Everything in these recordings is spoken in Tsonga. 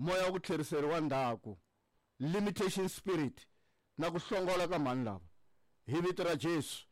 Moya wa ku tlheriseriwa ndzhaku, limitation spirit, na ku hlongola ka mhani lava. Hi vito ra Jesu,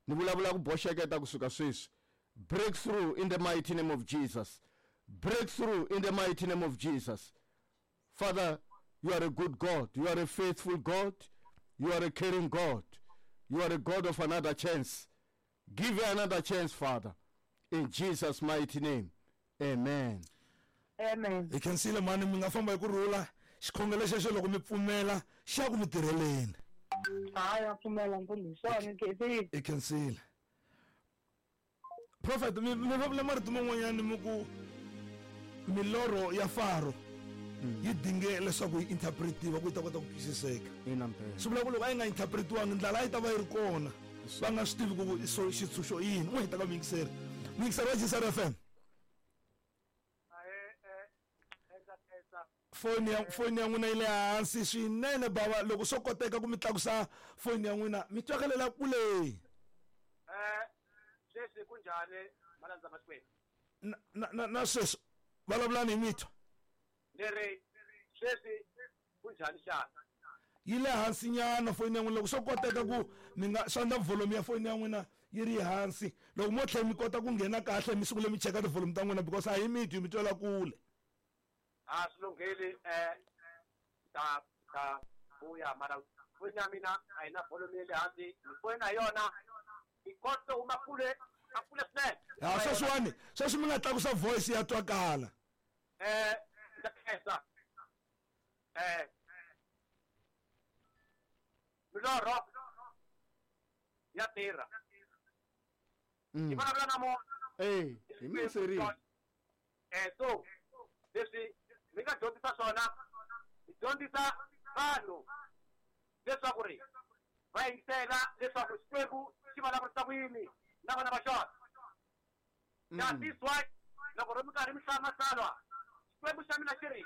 ni vulavula ku boxeketa kusuka sweswi. Breakthrough in the mighty name of Jesus. Breakthrough in the mighty name of Jesus. Father, you are a good God. You are a faithful God. You are a caring God. You are a God of another chance. Give her another chance, Father. In Jesus' mighty name. Amen. Amen. Hi khensile mhani mi nga famba hi ku rhula xikhongelo xexo loko mi pfumela xa ku mi tirheleni. Hayi a pfumela mfundhisi swona ni khensile. Hi khensile. Prophet mi mi vulavula marito man'wanyana mi ku milorho ya Faro yi dinge leswaku yi interpretiwa ku yi ta kota ku twisiseka. Ina mpela. Swi vula ku loko a yi nga interpretiwangi ndlala a yi ta va yi ri kona va nga swi tivi ku so xitshunxo i yini. N'wi heta ka muyingiseri. Muyingiseri wa GCR FM. Foni ya foni ya n'wina yi le hansi swinene bava loko swo koteka ku mi tlakusa foni ya n'wina mi twakalela kule. Sweswi ku njhani malandza ma Xikwembu? Na na na, na sweswi vulavulani hi mitwa. Ni ri sweswi ku njhani xana? Yi le hansi nyana foni ya n'wina loko swo koteka ku mi nga swi endla volume ya foni ya n'wina yi ri hansi loko mo tlhela mi kota ku nghena kahle mi sungule mi cheka ti-volume ta n'wina because a hi mi twi mi twela kule. A swi lunghile ta ta vuya mara foni ya mina a yi na volume ya le hansi ni foni na yona yi kote huma kule a kule swinene. Ha sweswiwani sweswi mi nga tlakusa voice ya twakala. Ndza khensa. Milorho ya tirha. Yi vulavula na munhu. Eh, hi minserini. So leswi mi nga dyondzisa swona, hi dyondzisa vanhu leswaku ri va yingisela leswaku Xikwembu xi vulavurisa ku yini na vana va xona. That is why loko ri mi karhi mi hlaya matsalwa, Xikwembu xa mina xi ri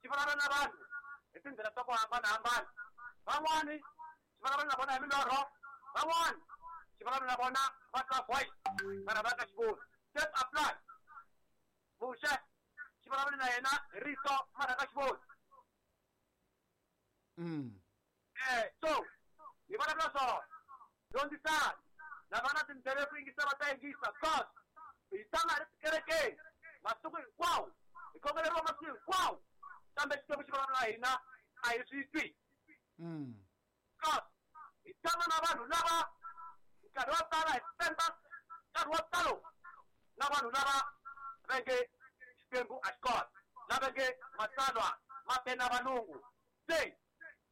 xi vulavula na vanhu hi tindlela ta ku hambanahambana. Van'wani xi vulavula na vona hi milorho, van'wani xi vulavula na vona va twa voice mara va nga xi voni. Same apply. Muxe xi vulavule na yena hi rito mara a nga xi voni. So hi vulavula swona. Dyondzisani. Lava nga na tindleve ku yingisa va ta yingisa. Because hi tshama hi ri tikerekeni masiku hinkwawo, hi khongeleriwa masiku hinkwawo, kambe Xikwembu xi vulavula na hina a hi swi twi. Because hi tshama na vanhu lava nkarhi wo tala hi spenda nkarhi wo talo na vanhu lava va nge Xikwembu a xi kona, lava nge matsalwa ma te na valungu. Se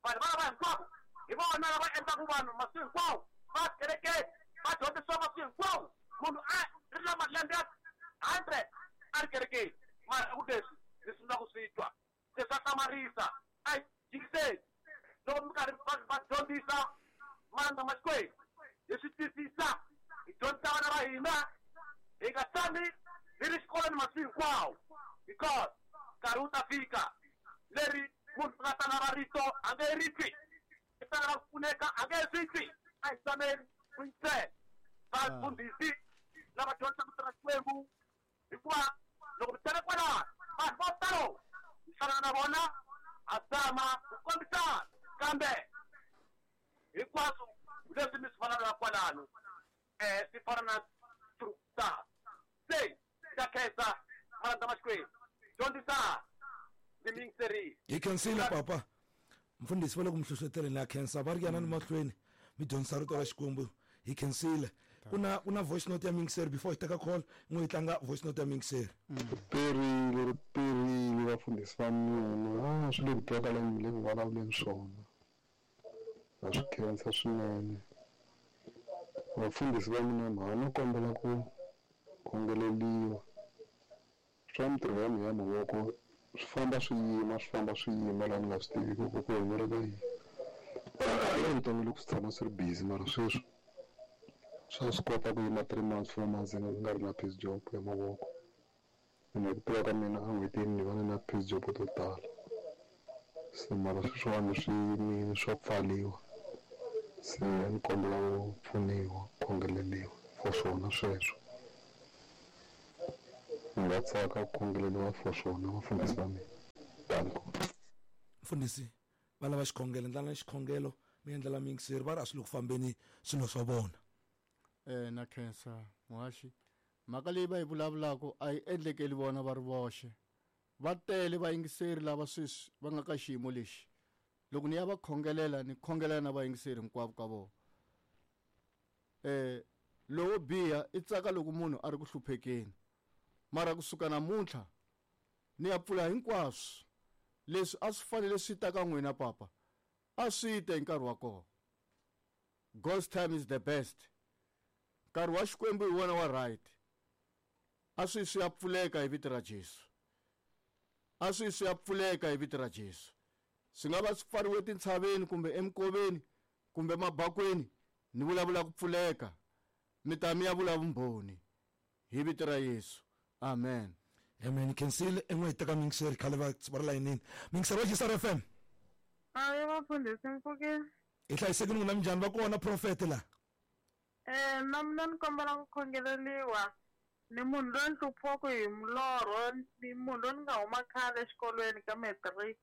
vanhu valava hinkwavo hi vona lava endlaka vanhu masiku hinkwawo va kerekeni va dyondzisiwa masiku hinkwawo. Munhu a ri na malembe ya 100 a ri kerekeni mara ku leswi ni sungula ku swi twa se swa hlamarisa. A hi yingiseni loko mi karhi va dyondzisa malandza ma Xikwembu, hi swi twisisa, hi dyondzisa vana va hina, hi nga tshami hi ri xikolweni masiku hinkwawo because nkarhi wu ta fika leri munhu a nga ta lava rito a nge ri twi, i ta lava ku pfuneka a nge swi twi. A hi tshameni ku yingisela vafundhisi lava dyondzisaka rito ra Xikwembu, hikuva loko mi tshame kwalano vanhu vo talo mi hlangana na vona, ha zama ku kombisana, kambe hinkwaswo leswi mi swi vulavulaka kwalano swi fana na truth. Se ndza khensa malandza ma Xikwembu, dyondzisana, ndzi mi yingiserile. Hi khensile papa. Mfundhisi va le ku mi hlohloteleni ha khensa, va ri yanani mahlweni mi dyondzisa rito ra Xikwembu. Hi khensile. Ku na ku na voice note ya muyingiseri before hi teka call, n'wi hi tlanga voice note ya muyingiseri. Ri perile, ri perile vafundhisi va mina. Ah, swi le ku twakaleni mi le ku vulavuleni swona. Na swi khensa swinene. Vafundhisi va mina mhani no kombela ku khongeleliwa. Swa mintirho ya mina ya mavoko swi famba swi yima, swi famba swi yima laha ni nga swi tiviki ku ku humelela yini. Evuton'wini loko swi tshama swi ri busy mara sweswi swa swi kota ku yima 3 months, 4 months ni nga ri na piece job ya mavoko. Ene hi ku tiva ka mina en'hwetini ni va ni na piece job to tala. Se mara sweswiwani swi yimile swa pfaliwa. Se a ni kombela ku pfuniwa, ku khongeleriwa for swona sweswo. Ni nga tsaka ku khongeleriwa for swona vafundhisi va mina. Danko. Mfundhisi va lava xikhongelo, endlana xikhongelo mi endlela miyingiseri, va ri a swi le ku fambeni swilo swa vona. Na khensa muhaxi, mhaka leyi va yi vulavulaka a yi endlekeli vona va ri voxe. Va tele vayingiseri lava sweswi va nga ka xiyimo lexi. Loko ni ya va khongelela, ni khongelela na vayingiseri hinkwavo ka vona. Lowo biha i tsaka loko munhu a ri ku hluphekeni, mara kusuka namuntlha ni ya pfula hinkwaswo leswi a swi fanele swi ta ka n'wina papa, a swi te hi nkarhi wa kona. God's time is the best. Nkarhi wa Xikwembu hi wona wa right. A swi swi ya pfuleka hi vito ra Jesu. A swi swi ya pfuleka hi vito ra Jesu. Swi nga va swi pfariwe tintshaveni kumbe emikoveni kumbe mabakweni, ni vulavula ku pfuleka. Mi ta mi ya vula vumbhoni hi vito ra Yesu. Amen. Amen. Khensile en'we hi teka miyingiseri khale va ri layinini. Miyingiseri wa GCR FM. Ayi vafundhisi mpfukeni. Hi hlayisekile n'wina, minjhani? Va kona profete la? Na mina ni kombela ku khongeleliwa. Ni munhu loyi ni hluphiwaka hi milorho, ni munhu loyi ni nga huma khale exikolweni ka matric.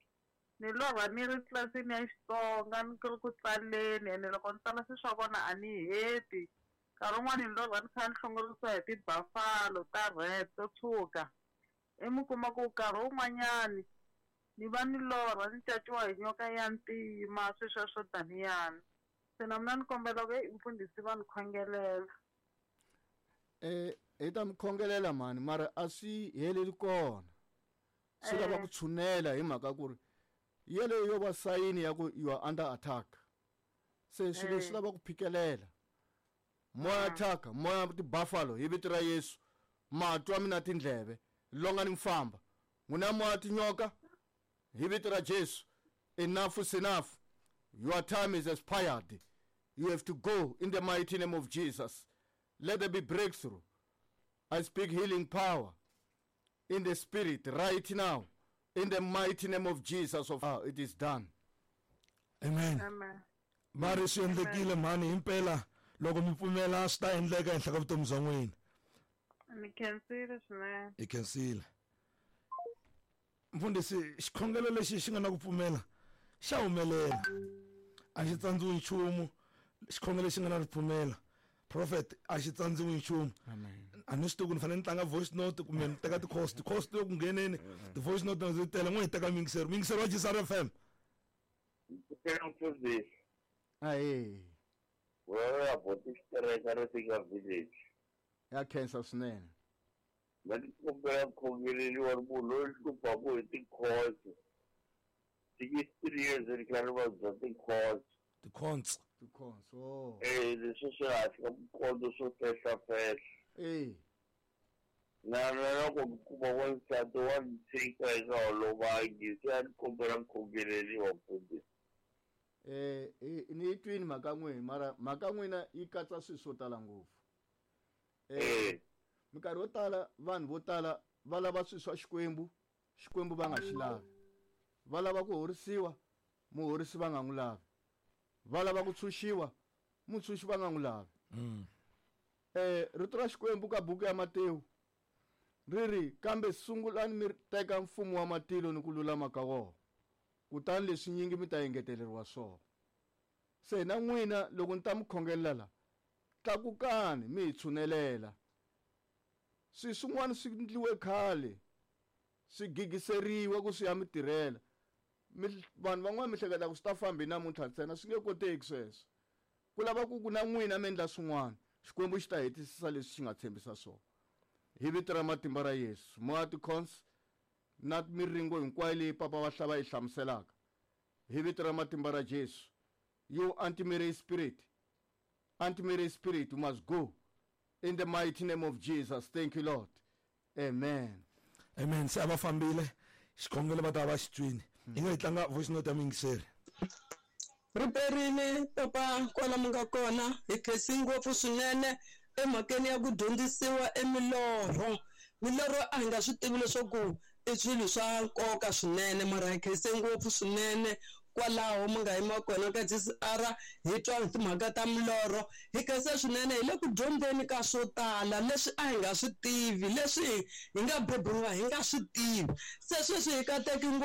Ni lorha ni ri tlilasini ya Xitsonga, ni ri ku tsaleni, ene loko ni tsala swilo swa kona a ni heti. Nkarhi wun'wani ni lorha ni kha ni hlongorisiwa hi ti-buffalo ta red to tshuka. I mi kuma ku nkarhi wun'wanyani ni va ni lorha ni caciwa hi nyoka ya ntima, swilo sweswo taniyani. Se na mina ni kombela ku heyi mfundhisi va ni khongelela. Hi ta mi khongelela mhani, mara a swi heleli kona. Swi lava ku tshunela hi mhaka ku ri yeleyo yo va sayini ya ku you are under attack. Se swilo leswi lava ku phikelela. Moya attack, moya ti-buffalo hi vito ra Yesu. Matwa mina tindleve, longa ni mfamba. N'wina moya tinyoka hi vito ra Jesu. Enough is enough. Your time is expired. You have to go in the mighty name of Jesus. Let there be breakthrough. I speak healing power in the spirit right now. In the mighty name of Jesus, of it is done. Amen. Amen. Va ri swi endlekile mhani, himpela loko mi pfumela swi ta endleka ehenhla ka vutomi bya n'wina. Ni khensile swinene. Hi khensile. Mfundhisi, xikhongelo lexi xi nga na ku pfumela xa humelela. A xi tsandziwi nchumu. Xikhongelo lexi nga na ripfumela, prophet, a xi tsandziwi nchumu. A ni swi tivi ku ni fanele ni tlanga voice note kumbe ni teka ti-cost. Ti-cost loko ngheneni, ti-voice note na ti tele. N'we hi teka miyingiseri. Miyingiseri wa GCR FM. Mfundhisi. Ahee. Wewe ya boti xitereka ri fika village. Ya khensa swinene. Va ti kombela khongeleriwa ri munhu loyi hluphaku hi ti-course. 63 years ri kha ri vabya ti-course. Ti-cons. Ti-cons, oh. Leswi swi hansi ka mikondzo swo fehlafehla. Na loko mi kuma wansati wa ni tshika eka holovangi, se a ni kombela khongeleriwa mfundhisi. Ni yi twini mhaka n'wina, mara mhaka n'wina yi katsa swilo swo tala ngopfu. Minkarhi yo tala vanhu vo tala va lava swilo swa Xikwembu, Xikwembu va nga xi lavi. Va lava ku horisiwa, muhorisi va nga n'wi lavi. Va lava ku tshunxiwa, mutshunxi va nga n'wi lavi. Rito ra Xikwembu ka buku ya Matewu ri ri, kambe sungulani mi teka mfumo wa matilo ni ku lulama ka wona, kutani leswi nyingi mi ta engeteleriwa swona. Se na n'wina loko ni ta mi khongelela la, tlakukani mi hi tshunelela. Swilo swin'wana swi endliwe khale, swi gigiseriwa ku swi ya mi tirhela. Vanhu van'wana mi hleketa ku swi ta famba hi namuntlha ntsena, swi nge koteki sweswo. Ku lava ku ku na n'wina mi endla swin'wana, Xikwembu xi ta hetisisa leswi xi nga tshembisa swona. Hi vito ra matimba ra Yesu, moya ti-cons na miringo hinkwayo leyi papa va hlava yi hlamuselaka. Hi vito ra matimba ra Jesu, you anti-marriage spirit, anti-marriage spirit, you must go in the mighty name of Jesus. Thank you, Lord. Amen. Amen. Se a va fambile, xikhongelo va ta va xi twini. Hi nga yi tlanga voice note ya muyingiseri. Riperile papa kwala mi nga kona, hi khensi ngopfu swinene emhakeni ya ku dyondzisiwa emilorho. Milorho a hi nga swi tivi leswaku i swilo swa nkoka swinene, mara hi khense ngopfu swinene kwalaho mi nga yima kona ka GCR, hi twa hi timhaka ta milorho. Hi khense swinene, hi le ku dyondzeni ka swo tala leswi a hi nga swi tivi, leswi hi nga beburiwa hi nga swi tivi. Se sweswi hi kateki ngopfu.